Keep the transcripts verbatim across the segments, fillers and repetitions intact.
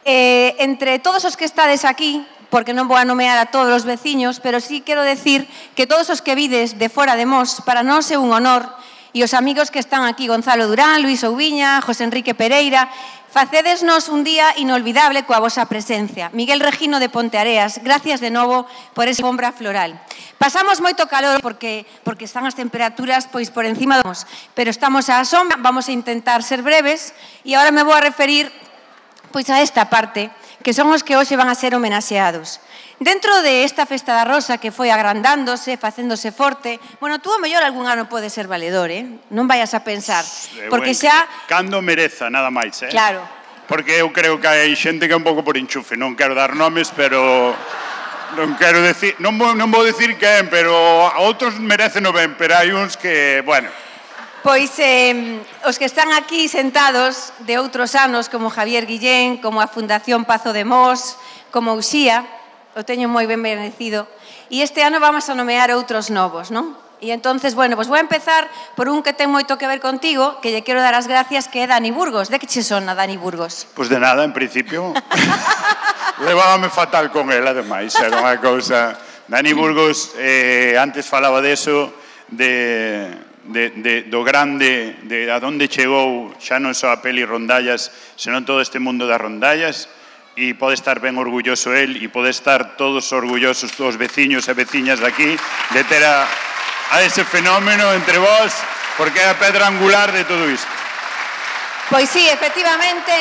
Eh, entre todos os que estades aquí, porque non vou a nomear a todos os veciños, pero sí quero decir que todos os que vides de fora de Mos, para nós é un honor, e os amigos que están aquí, Gonzalo Durán, Luís Ouviña, José Enrique Pereira, facedesnos un día inolvidable coa vosa presencia. Miguel Regino de Ponteareas, gracias de novo por esa alfombra floral. Pasamos moito calor porque, porque están as temperaturas pois por encima dos, pero estamos á sombra, vamos a intentar ser breves, e agora me vou a referir pois a esta parte, que son os que hoxe van a ser homenaxeados. Dentro de esta Festa da Rosa que foi agrandándose, facéndose forte, bueno, tú ao mellor algún ano pode ser valedor, eh? Non vayas a pensar, porque xa... Cando mereza, nada máis, eh? Claro. Porque eu creo que hai xente que é un pouco por enchufe, non quero dar nomes, pero... Non quero decir... Non vou, non vou decir quen, pero a outros merecen o ben, pero hai uns que, bueno... Pois eh, os que están aquí sentados de outros anos, como Javier Guillén, como a Fundación Pazo de Mos, como Uxía, o teño moi ben merecido, e este ano vamos a nomear outros novos, non? E entonces, bueno, pois vou a empezar por un que ten moito que ver contigo, que lle quero dar as gracias, que é Dani Burgos. De que che sona Dani Burgos? Pois de nada, en principio. Levábame fatal con él, ademais, era unha cousa... Dani Burgos, eh, antes falaba deso, de... De, de, do grande, de a donde chegou xa non só a peli Rondallas, senón todo este mundo das rondallas, e pode estar ben orgulloso el e pode estar todos orgullosos os veciños e veciñas de aquí de ter a, a ese fenómeno entre vós, porque é a pedra angular de todo isto. Pois sí, efectivamente,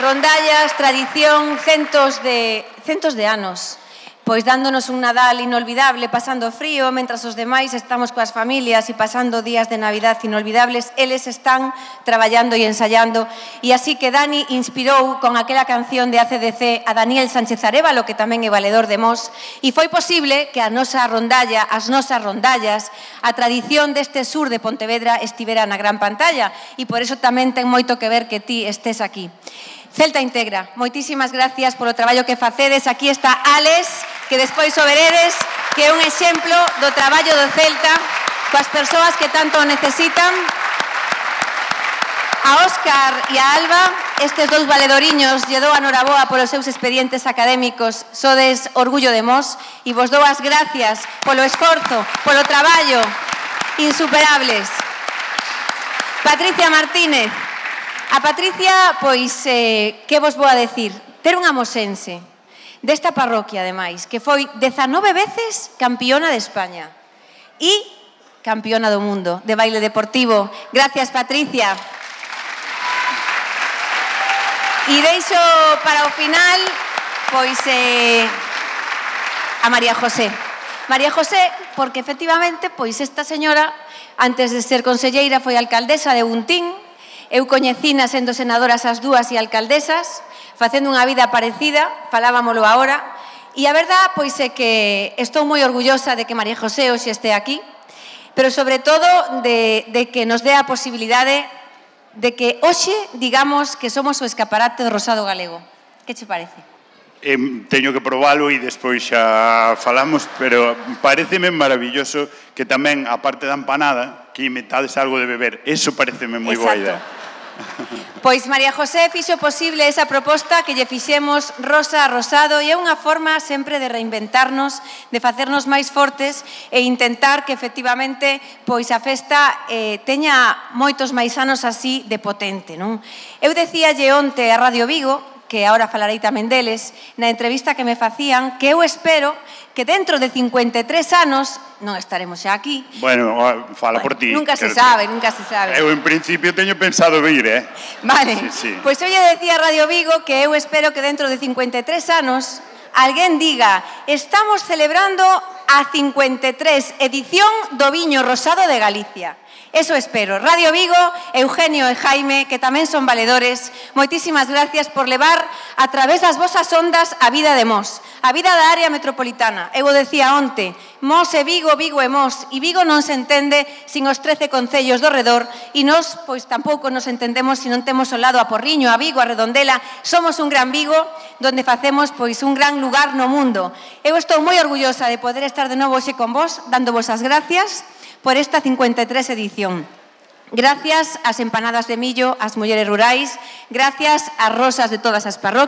Rondallas, tradición, centos de, centos de anos, pois dándonos un Nadal inolvidable, pasando frío, mentras os demais estamos coas familias e pasando días de Navidad inolvidables, eles están traballando e ensayando, e así que Dani inspirou con aquela canción de A C D C a Daniel Sánchez Arévalo, que tamén é valedor de Mos, e foi posible que a nosa rondalla, as nosas rondallas, a tradición deste sur de Pontevedra estivera na gran pantalla, e por eso tamén ten moito que ver que ti estés aquí. Celta Integra, moitísimas gracias polo traballo que facedes. Aquí está Alex, que despois o veredes, que é un exemplo do traballo do Celta coas persoas que tanto o necesitan. A Óscar e a Alba, estes dous valedoriños, lle dou a noraboa polos seus expedientes académicos, sodes orgullo de Mos, e vos dou as gracias polo esforzo, polo traballo, insuperables. Patricia Martínez. A Patricia, pois, eh, que vos vou a decir? Ter unha mosense desta parroquia, ademais, que foi dezanove veces campiona de España e campiona do mundo de baile deportivo. Gracias, Patricia. E deixo para o final, pois, eh, a María José. María José, porque efectivamente, pois, esta señora, antes de ser conselleira, foi alcaldesa de Buntín. Eu coñecina sendo senadoras as dúas e alcaldesas, facendo unha vida parecida, falábamolo agora, e a verdad, pois é que estou moi orgullosa de que María José hoxe este aquí, pero sobre todo de, de que nos dé a posibilidade de que hoxe digamos que somos o escaparate do rosado galego. Que che parece? Eh, teño que probalo e despois xa falamos, pero pareceme maravilloso que tamén, a parte da empanada, que metades algo de beber. Eso pareceme moi boa idea. Pois María José fixo posible esa proposta que lle fixemos rosa a rosado, e é unha forma sempre de reinventarnos, de facernos máis fortes e intentar que efectivamente pois a festa eh, teña moitos máis anos así de potente, non? Eu decíalle onte a Radio Vigo, que agora falarei tamén deles, na entrevista que me facían, que eu espero que dentro de cincuenta e tres anos, non estaremos xa aquí. Bueno, fala por ti. Nunca se sabe, nunca se sabe. Eu en principio teño pensado vir, eh? Vale, sí, sí. Pois eu lle decía a Radio Vigo que eu espero que dentro de cincuenta e tres anos alguén diga: estamos celebrando a cincuenta e tres edición do Viño Rosado de Galicia. Eso espero. Radio Vigo, Eugenio e Jaime, que tamén son valedores, moitísimas gracias por levar a través das vosas ondas a vida de Mos, a vida da área metropolitana. Eu o decía onte, Mos e Vigo, Vigo e Mos, e Vigo non se entende sin os trece concellos do redor, e nós, pois, tampouco nos entendemos se non temos ao lado a Porriño, a Vigo, a Redondela. Somos un gran Vigo, donde facemos, pois, un gran lugar no mundo. Eu estou moi orgullosa de poder estar de novo hoxe con vos, dándovos as gracias por esta cincuenta e tres edición. Gracias ás empanadas de millo, ás mulleres rurais, gracias ás rosas de todas as parroquias,